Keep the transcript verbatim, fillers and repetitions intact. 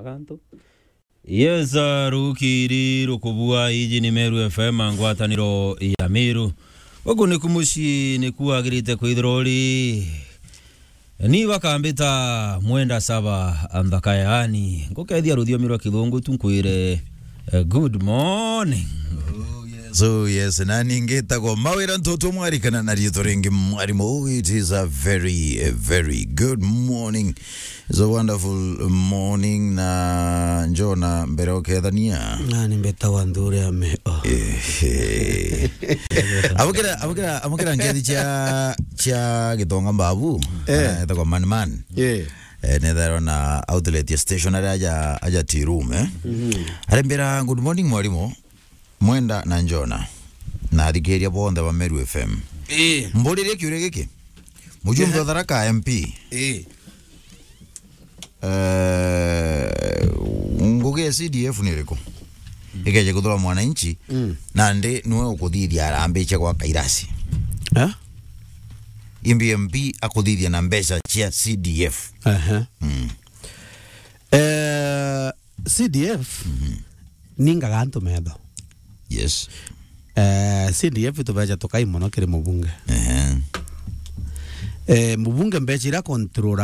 Agantu. Yes, uh, rukiri rukubua, iji ni Meru F M, ngwataniro ya Meru. Guku niku mucii niku wagirite kwithirwa uri. Ni bakambita Mwenda Saba Anthaka, yaani, ngukethia ruthiomi rwa Kithungu tu nkwire, eh, good morning. So yes, na ningitagwo Mawira Ntutu, mwarikana na riitwa ringi mwarimu. Oh, it is a very, a very good morning. It's a wonderful morning, na Njona, mbere ukethania. Na ni mbetagwa Nthure Ame-, oh. Ehe. Abukira, abukira, abukira ngethi cia, cia Gitonga Mbabu. Eh. Eh, etagwa Man Man. Eh. Eh, nethero na outlet ya stationery aja, aja tea room, eh. Mhm. Arembera, "Good morning, mwarimu." Mwenda na Njona, na athikiria bonthe ba Meru F M. Ii. Mburirie kiuria giki. Mujumbe Ehe. wa Tharaka M P. Ii. Eh, ngugi ya C D F ni iriku? Ikeje kuthura mwananchi, Mm. nandi niwe ukuthithia arambiche gwaka irasi. Eh? Imbi M P akuthithia na mbeca cia C D F. Ehe. Mm. Eh, C D F Mhm. ningaga antu metho. Yes. Eh, C D F tubeja tukai mono kiri mubunge. Ehe. Eh, mubunge mbeca ira control